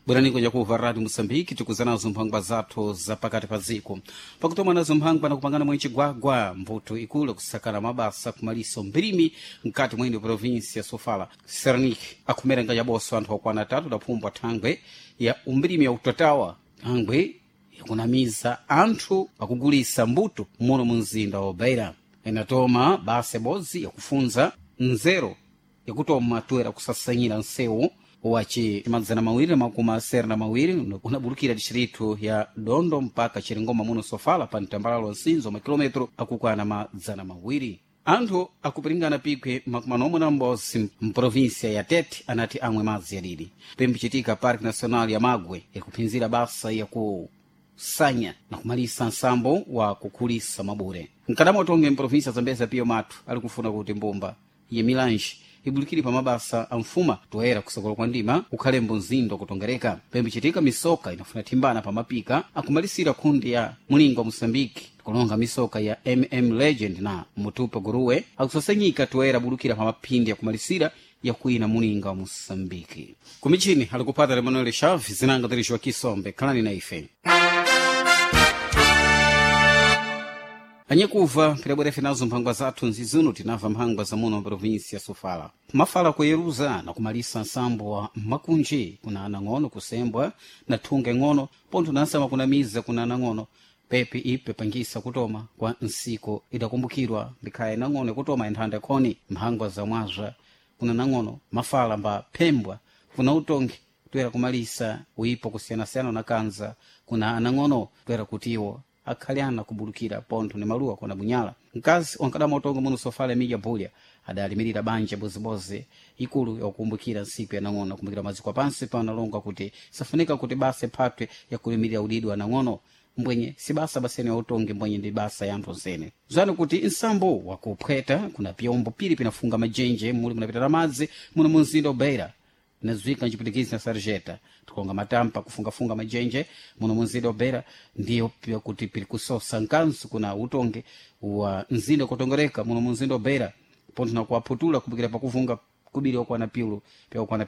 Bwerani kuja Rádio Moçambique, tikuzanazo mphangwa zathu za pakati pa dziko. Pakutoma nazo mphangwa nakupangana mwe chigwagwa mbuto ikulu kusakana mabasa kumaliso mbirimi mkati mwene provinsi ya Sofala. Sernik akhumera ngajaboso anthu okwana atatu daphumbwa thangwe ya umbirimi ya utatawa, thangwe yakunamiza anthu pakugulisa mbuto muno mu mzinda wa Beira. Inatoma basa ibodzi yakufunza nzeru yakutoma toera kusasanyira nsewu waci 272 unabulukira distritu ya Dondo mpaka Chiringoma muno Sofala pa mtambalalo nsinzo makilometro akukwana 200. Anthu akupiringana pikwe 46 mprovinsia ya Tete anati amwe madzi yadidi. Pembichitika Parque Nacional ya Magwe yakuphinzira basa yakusanya na kumalisa nsambo wa kukhulisa mabure. Mkadamo tonge mprovinsia Zambezia piyo mathu ali kufuna kuti mbumba ya milanji ibulikire pa mabasa a mfuma toera kusokola kwa ndima ukhalembo mzindo kutongereka. Pembichitika misoka inafuna thimbana pa mapika akumalisira khundi ya mulingo wa Moçambique kulonga misoka ya Legend na Mutupa Guruwe akusasanyika toera bulukira pa maphindi akumalisira yakuina mulinga wa Moçambique. Kumichini alikupata Emanuel Chaves zinanga tirishiwa Kisombe. Khalani na ife. Anyekuva pirabwerefe nazo mphangwa zathu nzizuno tinamva mphangwa za muno provinsi ya Sofala. Mafala kuyeruza na kumalisa nsambo wa makunji kuna anang'ono kusembwa na thunge ng'ono pontho nansama kunamiza kuna anang'ono pepe ipe pangisa kutoma kwa nsiko idakumbukirwa ndikhaya nang'ono ikutoma inthanda khoni mphangwa za mwazwa kuna nang'ono mafala mba phembwa kuna utongi toera kumalisa uipo kusiyanasiyana na kanza kuna anang'ono toera kutiwo akhale ana kubulukira pontho ni maluwa kona bunyala. Mkazi wankadama utongo muno Sofala Emilia Bulya adalimirira banja bozibozi ikulu yakukumbukira nsiku ya nang'ono kumbukira maziko pansi panalonga kuti safunika kuti basa iphatwe yakulimirira udidi wa nang'ono mbwenye si basa basene ya utongi mbwenye ndi basa ya anthu onsene. Zani kuti nsambo wakuphweta kuna pyombo pili pinafunga majenje muli munapita na madzi muno mu mzinda wa Beira inadziwika mchipwitikizi na sarjeta tikonga matampa kufungafunga majenje muno munzinda wa Beira ndiyo pia kuti pili kusosa nkansu kuna utongi wa mzinda kutongereka muno munzinda wa Beira pontho na kuwaphutula kumbukira pakufunga kubiri wakwana piulu pya wakwana.